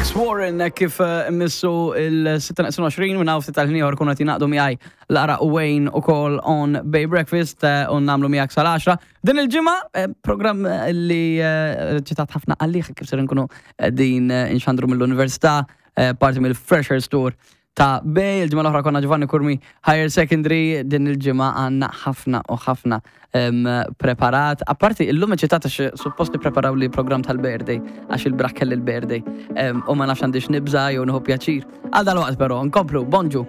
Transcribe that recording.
Alex Warren kif eh, missu il-26 minn hawn ftit tal-ħin kuna tinaqdu miegħi Lara u Wayne ukoll on Bay Breakfast eh, u nagħmlu miegħek sal-10. Din il-ġimgħa eh, programm li ċitat ħafna għalih kif ser nkunu din inxandru mill-Università parti mill-Freshers Tour ta' Bay, il-ġimgħa l-oħra konna Giovanni Curmi Higher Secondary, din il-ġimgħa għandna ħafna u ħafna preparat. Apparti illum eċitat għax suppost nippreparaw li program tal-birthday għax il-braħ kelli l-birthday u ma nafx għandix nibża jew nieħu pjaċir. Għal dal-waqt però nkomplu, bonġu.